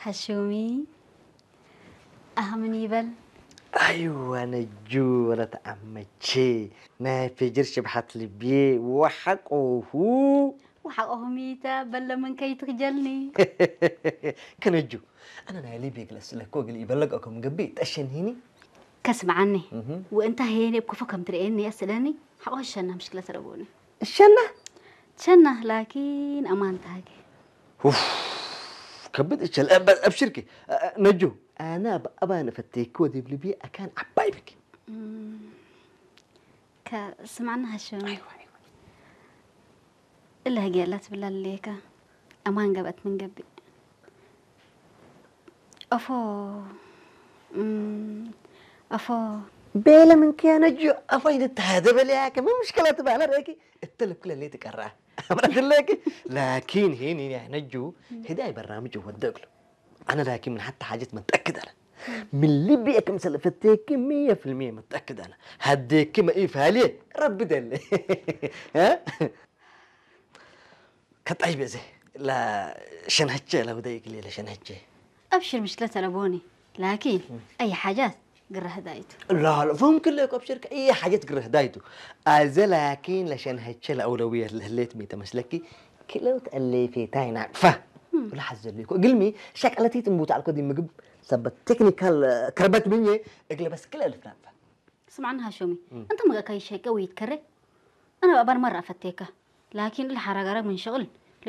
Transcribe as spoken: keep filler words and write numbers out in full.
ሐሹሚ፣ አህ ምን ይበል? አይዋ ነጁ ወለት አመቼ፣ ናይ ፌጅር ሽብሐት ልብዬ ወሐቆሁ። ወሐቆሁ ሚተ በለ ምን ከይትክጀልኒ። ከነጁ፣ አነ ናይ ልብዬ እግል አስእለኮ እግል ኢበለግ አኮ ምን ገብእ ጠሸንሂኒ። ከስምዓኒ፣ እህ። ወእንታ ሄኔ እብ ክፉ ከም ትርኤኒ አስእለኒ፣ ሐቆ ሸና ምሽክለት ረቦኒ። እሸና? ሸና፣ ላኪን አማን ተሃጌ። ኡፍ፣ ከብድ እሸል። እ፣ በ-፣ አብሽርኪ። እ፣ እ፣ ነጁ፣ አነ አብ-፣ አባን እፈቴኪ ወዲብ ልብዬ አካን ዐባይ ብኪ። እም፣ ከስምዓኒ ሐሹሚ። አይዋ፣ አይዋ። እለ ህግየ ለትብላ ለሌከ፣ አማን ገብአት ምን ገብእ? አፎ፣ እም፣ አፎ። ቤለ ምንኪ ያ ነጁ፣ አፎ ይንተሃደ በለያከ፣ ምን ምሽከለ ትባለ ረአኪ? እተ ልብክ ለሌ ትቀራ። አምረት ለኪ፣ ላኪን ሄን ያ ነጁ፣ ህዳይ በርናምጅ ወደ እግሉ። አነ ላኪን ምን ሐተ ሓጀት መትአክድ አነ። ምን ልብየ ክምሰል እፈቴኪ ምየ ፊልምየ መትአክድ አነ። ሀዴኪ መኢፋልየ ረቢ ደለ። እ? ከጣይ በዜ ለሸንሀቼ ለውደይ እግል ለሸንሀቼ። አብሽር ምሽክለት አለቦኒ። ላኪን እም። አይ ሓጃት ግረ ህዳይቱ። ላ፣ ላ፣ ፈሁም ክለ እኮ አብሽር ከአይ ሓጀት ግረ ህዳይቱ። አዘ ላኪን ለሸንሀቼ ለአውለውየት ለህሌት ሚ ተመስለኪ ክለው ተአሌፌታይ ናቅፋ። እም። ወለሐዘ ሌኮ እግልሚ ሸቀለቲት እምቡት አልኮ ዲ ምግብ ሰበት ቴክኒካል ከርበት ምኘ እግለ በስ ክለ እልፍ ናቅፋ። ስምዓኒ ሐሾሚ፣ እም። እንተ መገአካይ ሸቄ ወይትከሬ፣ አነ በአባን መረ አፈቴከ። ላኪን እለ ሐራጋራግ ምን ሸቅል